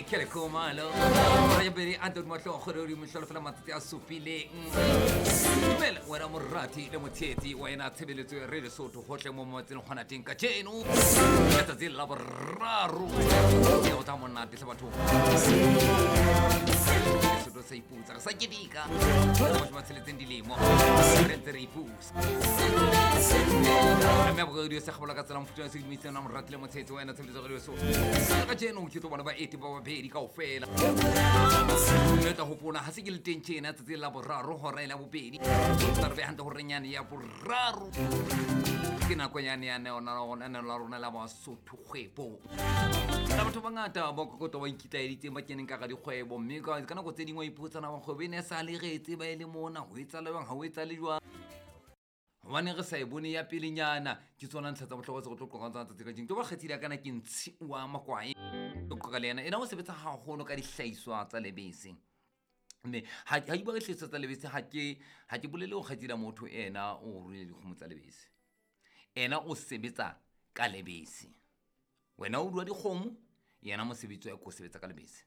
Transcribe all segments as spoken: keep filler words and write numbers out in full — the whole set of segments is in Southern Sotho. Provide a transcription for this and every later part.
Kelly Khumalo. Rajabedi Anton Mahlo Kgorodi Mohlolo fela matsatsi a supileng. Dumela wena morati le motshehetsi wa ena tshebeletso ya Radio Sotho hohle mo motseng hona teng kajeno. Letsatsi la boraro. Ke o tla monate hle batho. Sotho sa iputsa, re sa keteka. Mashome a tsheletseng dilemo. Re ntse re ipusa. Mme ya radio se kgabola ka tsela mofuta wa sedumetse na morati le motshehetsi wa ena tshebeletso ya Radio Sotho. Kajeno ke tlo bona baeti ba babedi kaofela. Mme o tla hopola ha se ke le teng tjena tsatsing la boraro hora e la bobedi. Tla re be hantle horeng yane ya boraro. Ke nako yane ya neo la rona la Basotho kgwebo. La batho ba bangata ba kokoto ba ikitlaeditseng ba keneng ka ga dikgwebo, mme ka ka nako tse dingwe o ipotsa na kgwebo e ne e sa le re e tseba e le mona, ho etsahala jwang, ha ho etsahale jwang. Hobane re sa e bone ya pelenyana, ke tsona ntlha tsa bohlokwa tse re tlo qoqang tsona tsatsi kajeno. Ke ba kgethile kana ke Ntshi wa Makwae. Ke qoqa le yena. Ena o sebetsa haholo ka dihlahiswa tsa lebese. Mme ha ha ke bua ka dihlahiswa tsa lebese, ha ke ha ke bolele ho kgethile motho ena o ruile dikgomo tsa lebese. Ena o sebetsa ka lebese. Wena o rua dikgomo, yena mosebetsi wa hae ke ho sebetsa ka lebese.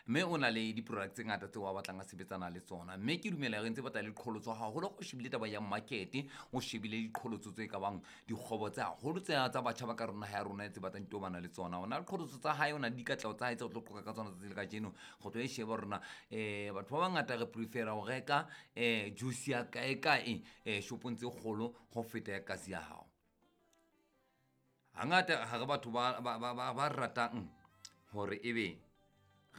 Mme o na le di-product tse ngata tseo a batlang a sebetsana le tsona. Mme ke dumela re ntse batla le diqholotso haholo o shebile taba ya market, o shebile diqholotso tse ka bang dikgwebo tse haholo tse tsa batjha ba ka rona ha ya rona tse batlang tobana le tsona. O na le diqholotso tsa hae, o na le dikatleho tsa hae tse re tlo qoqa ka tsona tsatsi le kajeno. Re tlo e sheba hore na eh batho ba bangata re prefera ho reka eh juice ya kae kae eh shopong tse kgolo ho feta ya kasi ya hao. Hangata ha re batho ba ba ba ba ratang hore ebe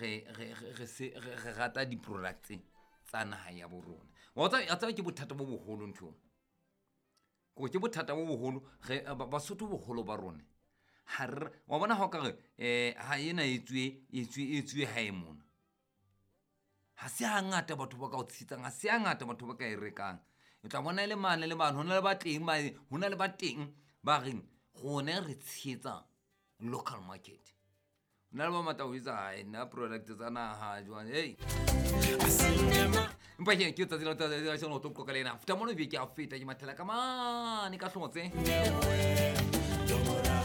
re re re se re rata di-products tsa naha ya bo rona. Wa tseba tseba ke bothata bo boholo ntho. Ko ke bothata bo boholo re Basotho boholo ba rona. Ha re wa bona ha o ka re eh ha ena e tswe e tswe e tswe hae mona. Ha se hangata batho ba ka o tshitsang, ha se hangata batho ba ka e rekang. O tla bona e le mane le mane, hona le ba teng ba hona le ba teng ba reng rona re tshehetsa local market. Nna le ba matla ho etsa hae nna product tsa naha jwang hey. Empa ke ke tsatsi la tsatsi la shano tlo qoqa le ena. Futa mono be ke a feta ke mathela ka mane ka hlotse.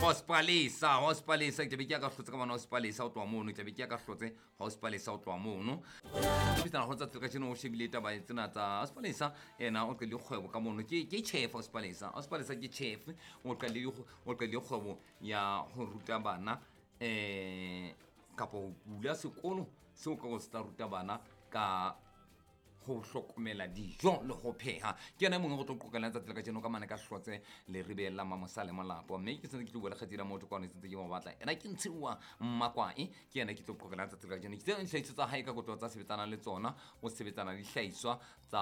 Hospalesa, Hospalesa ke be ke ka hlotse ka mane Hospalesa o tloha mono, ke be ke ka hlotse Hospalesa o tloha mono. Ke tsana ho tsatsi ka tjena o shebile taba tsena tsa Hospalesa ena o qadile kgwebo ka mono. Ke ke chef Hospalesa. Hospalesa ke chef o qadile o qadile kgwebo ya ho ruta bana eh kapa ho bula sekolo seo ka ho se tla ruta bana ka ho hlokomela dijo le ho pheha. Ke yena e mongwe go tlo qoqela letsatsi la kajeno ka mane ka hlotse Leribeng la Mamosale Molapo. Mme ke sentse ke tlo bua le kgaitsedi ya motho kwano, sentse ke mo batla. Ena ke Ntshiwa Makwae, ke yena ke tlo qoqela letsatsi la kajeno. Ke tseo dihlahiswa tsa hae ka kotlo tsa sebetsanang le tsona, o sebetsana le dihlahiswa tsa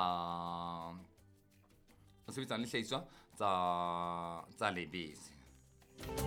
o sebetsana le dihlahiswa tsa tsa lebese.